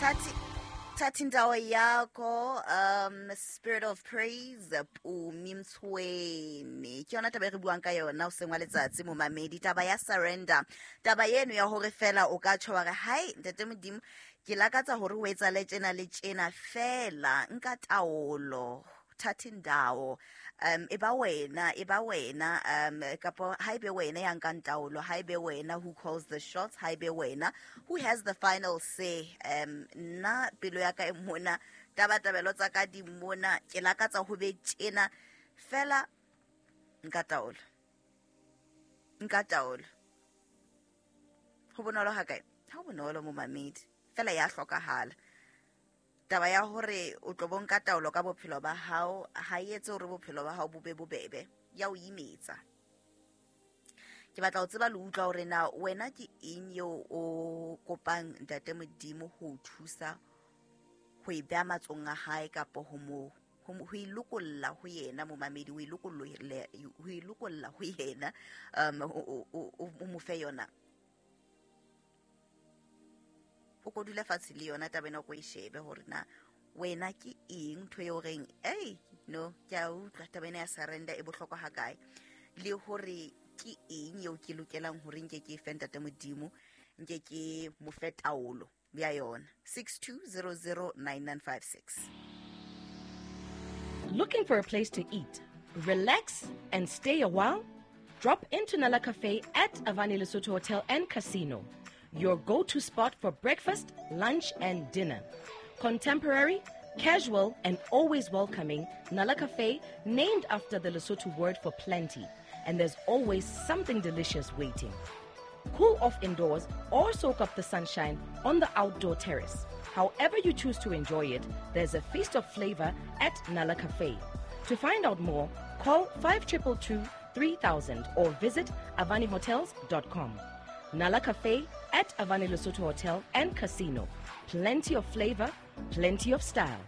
Thatha indawo yakho, Spirit of Praise, Pumi Mtshweni. Ke yona taba e re buang ka yona o seng wa letsatsi, momamedi, taba ya surrender, taba eno ya hore fela o ka tjho wa re, hai ntate Modimo, ke lakatsa hore o etsale tjena le tjena, fela nka taolo, thatha indawo, e ba wena, e ba wena, kapo ha ebe wena ya nkang taolo, ha ebe wena who calls the shots, ha ebe wena who has the final say. Nna pelo ya ka e mona, tabatabelo tsa ka di mona, ke lakatsa ho be tjena, fela nka taolo, nka taolo. Ho bonolo ha kae? Ha ho bonolo, momamedi, fela ya hlokahala taba ya hore o tlo bonka taolo ka bophelo ba hao. Ha e etse hore bophelo ba hao bo be bobebe, ya o imetsa. Ke batla ho tseba le utlwa hore na wena ke eng eo o kopang ntate Modimo ho o thusa ho e beha matsong a hae, kapo ho mo ho e lokolla ho yena, momamedi, ho e lokolla ho yena, o mo fe yona, o ko dula fatshe le yona taba ena, o ko e shebe hore na wena ke eng ntho eo reng, ei no, ke a utlwa taba ena ya surrender e bohlokwa hakae, le hore ke eng eo ke lokelang hore nke ke e fe ntate Modimo, nke ke mo fe taolo ya yona. 62009956. Looking for a place to eat, relax, and stay a while? Drop into Nala Cafe at Avani Lesotho Hotel and Casino, your go-to spot for breakfast, lunch, and dinner. Contemporary, casual, and always welcoming, Nala Cafe, named after the Lesotho word for plenty, and there's always something delicious waiting. Cool off indoors or soak up the sunshine on the outdoor terrace. However you choose to enjoy it, there's a feast of flavor at Nala Cafe. To find out more, call 5222 3000 or visit avanihotels.com. Nala Cafe at Avani Lesotho Hotel and Casino. Plenty of flavor, plenty of style.